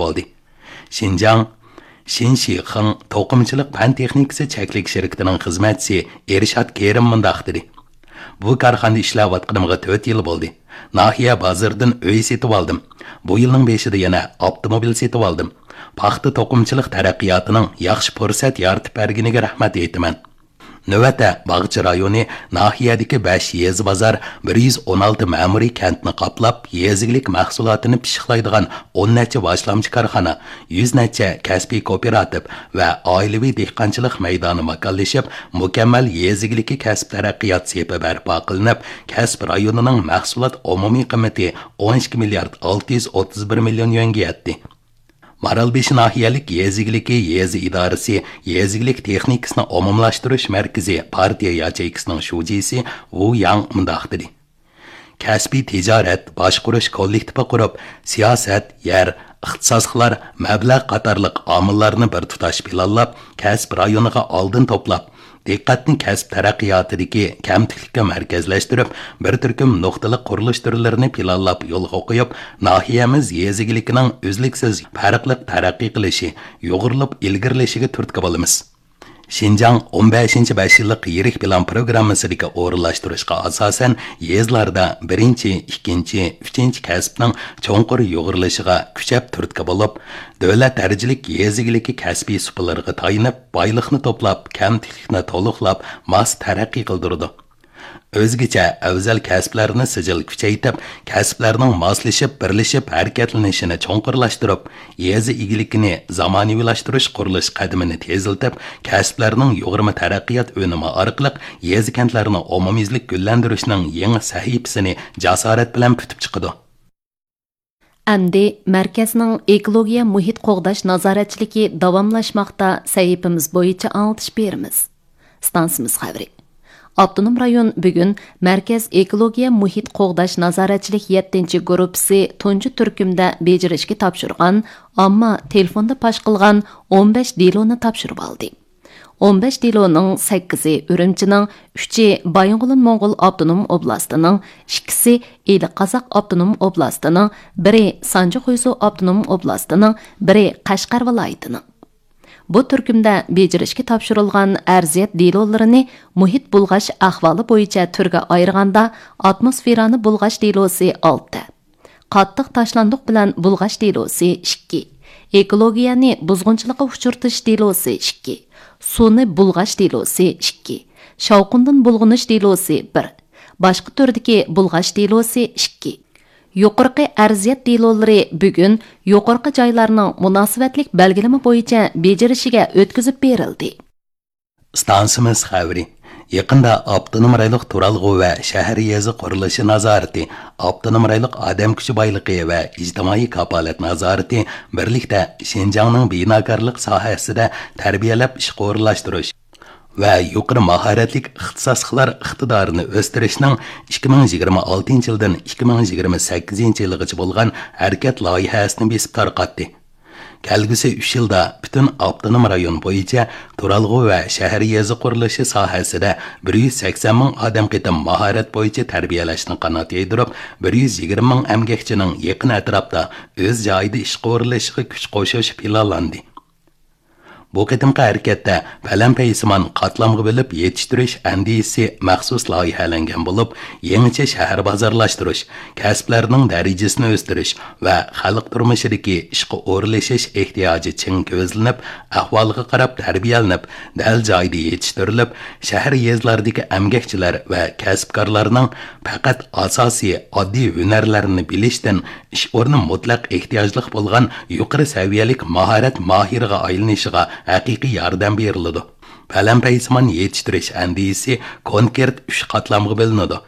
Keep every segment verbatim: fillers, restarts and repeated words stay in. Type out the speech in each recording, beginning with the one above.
بولدى. شىنجاڭ شىنشىخېڭ توقۇمىچىلىق پەن تېخنىكىسى چەكلىك شىركىتىنىڭ خىزمەتچىسى ئېرشات كېرىم مۇنداق دېدى: بۇ كارخانىدا ئىشلەۋاتقىنىمغا تۆت يىل بولدى. ناھىيە بازىرىدىن ئۆي سېتىۋالدىم. بۇ يىلنىڭ بېشىدا يەنە ئاپتوموبىل سېتىۋالدىم. پاختا توقۇمىچىلىق تەرەققىياتىنىڭ ياخشى پۇرسەت يارىتىپ بەرگىنىگە رەھمەت ئېيتىمەن. نۆۋەتتە باغچە رايونى ناھىيەدىكى بەش يېزا بازار، بىر يۈز ئون ئالتە مەمۇرىي كەنتنى قاپلاپ، يېزا ئىگىلىك مەھسۇلاتىنى پىششىقلايدىغان ئون نەچچە باشلامچى كارخانا، يۈز نەچچە كەسپىي كوپىراتىپ ۋە ئائىلىۋى دېھقانچىلىق مەيدانى ماكانلىشىپ، مۇكەممەل يېزا ئىگىلىكى كەسىپ تەرەققىيات سېپى بەرپا قىلىنىپ، كەسىپ رايونىنىڭ مەھسۇلات ئومۇمىي قىممىتى ئون ئىككى مىليارد ئالتە يۈز ئوتتۇز بىر مىليون يۈەنگە يەتتى. مارالبېشى ناھىيەلىك يېزا ئىگىلىكى يېزا ئىدارىسى يېزا ئىگىلىك تېخنىكىسىنى ئومۇملاشتۇرۇش مەركىزى پارتىيە ياچېيكىسىنىڭ شۇجىسى ۋۇ ياڭ مۇنداق دېدى: كەسپىي تىجارەت باشقۇرۇش كوللېكتىپى قۇرۇپ، سىياسەت، يەر، ئىختىساسلىقلار، مەبلەغ قاتارلىق ئامىللارنى بىر تۇتاش پىلانلاپ، كەسىپ رايونىغا ئالدىن توپلاپ، دىققەتنى كەسىپ تەرەققىياتىدىكى كەمتۈكلۈككە مەركەزلەشتۈرۈپ، بىر تۈركۈم نۇقتىلىق قۇرۇلۇش تۈرلىرىنى پىلانلاپ يولغا قويۇپ، ناھىيەمىز يېزا ئىگىلىكىنىڭ ئۈزلۈكسىز پەرقلىق تەرەققىي قىلىشى، يۇغۇرۇلۇپ ئىلگىرىلىشىگە تۈرتكە بولىمىز. شىنجاڭ ئون بەشىنچى بەش يىللىق يىرىك پىلان پروگراممىسىدىكى ئورۇنلاشتۇرۇشقا ئاساسەن، يېزىلاردا بىرىنچى، ئىككىنچى، ئۈچىنچى كەسىپنىڭ چوڭقۇر يۇغۇرۇلۇشىغا كۈچەپ تۈرتكە بولۇپ، دۆلەت دەرىجىلىك يېزا ئىگىلىكى كەسپىي سۇپىلىرىغا تايىنىپ، بايلىقنى توپلاپ، كەمتۈكلۈكنى تولۇقلاپ، ماس تەرەققىي قىلدۇرىدۇ. ئۆزگىچە ئەۋزەل كەسىپلەرنى سىجىل كۈچەيتىپ، كەسىپلەرنىڭ ماسلىشىپ، بىرلىشىپ ھەرىكەتلىنىشىنى چوڭقۇرلاشتۇرۇپ، يېزا ئىگىلىكىنى زامانىۋىلاشتۇرۇش قۇرۇلۇش قەدىمىنى تېزلىتىپ، كەسىپلەرنىڭ يۇغۇرما تەرەققىيات ئۈنۈمى ئارقىلىق يېزا-كەنتلەرنى ئومۇميۈزلۈك گۈللەندۈرۈشنىڭ يېڭى سەھىپىسىنى جاسارەت بىلەن پۈتۈپ چىقىدۇ. ئەمدى مەركەزنىڭ ئېكولوگىيە مۇھىت قوغداش نازارەتچىلىكى داۋاملاشماقتا سەھىپىمىز بويىچە ئاڭلىتىش بېرىمىز. ئىستانسىمىز خەۋىرى. ئاپتونوم رايون بۈگۈن مەركەز ئېكولوگىيە مۇھىت قوغداش نازارەتچىلىك يەتتىنچى گۇرۇپپىسى تۇنجى تۈركۈمدە بېجىرىشكە تاپشۇرغان، ئامما تېلېفوندا پاش قىلغان ئون بەش دېلونى تاپشۇرۇۋالدى. ئون بەش دېلونىڭ سەككىزى ئۈرۈمچىنىڭ، ئۈچى بايىنغولىن موڭغۇل ئاپتونوم ئوبلاستىنىڭ، ئىككىسى ئىلى قازاق ئاپتونوم ئوبلاستىنىڭ، بىرى سانجى خۇيزۇ ئاپتونوم ئوبلاستىنىڭ، بىرى قەشقەر ۋىلايىتىنىڭ. بۇ تۈركۈمدە بېجىرىشكە تاپشۇرۇلغان ئەرزىيەت دېلولىرىنى مۇھىت بۇلغاش ئەھۋالى بويىچە تۈرگە ئايرىغاندا، ئاتموسفېرانى بۇلغاش دېلوسى ئالتە، قاتتىق تاشلاندۇق بىلەن بۇلغاش دېلوسى ئىككى، ئېكولوگىيەنى بۇزغۇنچىلىققا ئۇچرىتىش دېلوسى ئىككى، سۇنى بۇلغاش دېلوسى ئىككى، شاۋقۇندىن بۇلغىنىش دېلوسى بىر، باشقا تۈردىكى بۇلغاش دېلوسى ئىككى. يۇقىرىقى ئەرزىيەت دېلولىرى بۈگۈن يۇقىرىقى جايلارنىڭ مۇناسىۋەتلىك بەلگىلىمە بويىچە بېجىرىشىگە ئۆتكۈزۈپ بېرىلدى. ئىستانسىمىز خەۋىرى. يېقىندا ئاپتونوم رايونلۇق تۇرالغۇ ۋە شەھەر يېزا قۇرۇلۇشى نازارىتى، ئاپتونوم رايونلۇق ئادەم كۈچى بايلىقى ۋە ئىجتىمائىي كاپالەت نازارىتى بىرلىكتە شىنجاڭنىڭ بىناكارلىق ساھەسىدە تەربىيەلەپ ئىشقا ئورۇنلاشتۇرۇش ۋە يۇقىرى ماھارەتلىك ئىختىساسلىقلار ئىقتىدارىنى ئۆستۈرۈشنىڭ ئىككى مىڭ يىگىرمە ئالتىنچى يىلدىن ئىككى مىڭ يىگىرمە سەككىزىنچى يىلغىچە بولغان ھەرىكەت لايىھەسىنى بېسىپ تارقاتتى. كەلگۈسى ئۈچ يىلدا پۈتۈن ئاپتونوم رايون بويىچە تۇرالغۇ ۋە شەھەر يېزا قۇرۇلۇشى ساھەسىدە بىر يۈز سەكسەن مىڭ ئادەم قېتىم ماھارەت بويىچە تەربىيەلەشنى قانات يايدۇرۇپ، بىر يۈز يىگىرمە مىڭ ئەمگەكچىنىڭ يېقىن ئەتراپتا ئۆز جايىدا ئىشقا ئورۇنلىشىشىغا كۈچ قوشۇش پىلانلاندى. بۇ قېتىمقى ھەرىكەتتە پەلەمپەيسىمان قاتلامغا بۆلۈپ يېتىشتۈرۈش ئەندىزىسى مەخسۇس لايىھەلەنگەن بولۇپ، يېڭىچە شەھەر بازارلاشتۇرۇش، كەسىپلەرنىڭ دەرىجىسىنى ئۆستۈرۈش ۋە خەلق تۇرمۇشىدىكى ئىشقا ئورۇنلىشىش ئېھتىياجى چىڭ كۆزلىنىپ، ئەھۋالغا قاراپ تەربىيەلىنىپ، دەل جايىدا يېتىشتۈرۈلۈپ، شەھەر يېزىلاردىكى ئەمگەكچىلەر ۋە كەسىپكارلارنىڭ پەقەت ئاساسىي ئاددىي ھۈنەرلەرنى بىلىشتىن ئىش ئورنى مۇتلەق ئېھتىياجلىق بولغان يۇقىرى سەۋىيەلىك ماھارەت ماھىرىغا ئايلىنىشىغا ھەقىقىي ياردەم بېرىلىدۇ. پەلەمپەيسىمان يېتىشتۈرۈش ئەندىزىسى كونكرېت ئۈچ قاتلامغا بۆلۈنىدۇ.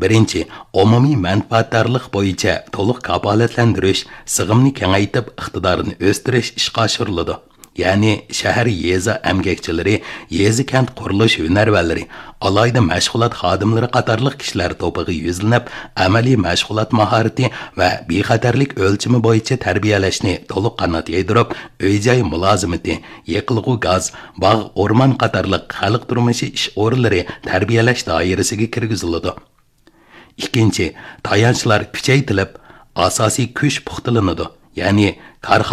بىرىنچى، ئومۇمىي مەنپەئەتدارلىق بويىچە تولۇق كاپالەتلەندۈرۈش، سىغىمنى كېڭەيتىپ، ئىقتىدارىنى ئۆستۈرۈش ئىشقا ئاشۇرۇلىدۇ. يەنى شەھەر، يېزا ئەمگەكچىلىرى، يېزا، كەنت قۇرۇلۇش ھۈنەرۋەنلىرى، ئالاھىدە مەشغۇلات خادىملىرى قاتارلىق كىشىلەر توپىغا يۈزلىنىپ، ئەمەلىي مەشغۇلات ماھارىتى ۋە بىخەتەرلىك ئۆلچىمى بويىچە تەربىيەلەشنى تولۇق قانات يايدۇرۇپ، ئۆي-جاي مۇلازىمىتى، يېقىلغۇ گاز، باغ، ئورمان قاتارلىق خەلق تۇرمۇشى ئىش ئورۇنلىرى تەربىيەلەش دائىرىسىگە كىرگۈزۈلىدۇ. ئىككىنچى، تايانچلار كۈچەيتىلىپ، ئاساسىي كۈچ پۇختىلىنىدۇ. يەنى كارخانىلار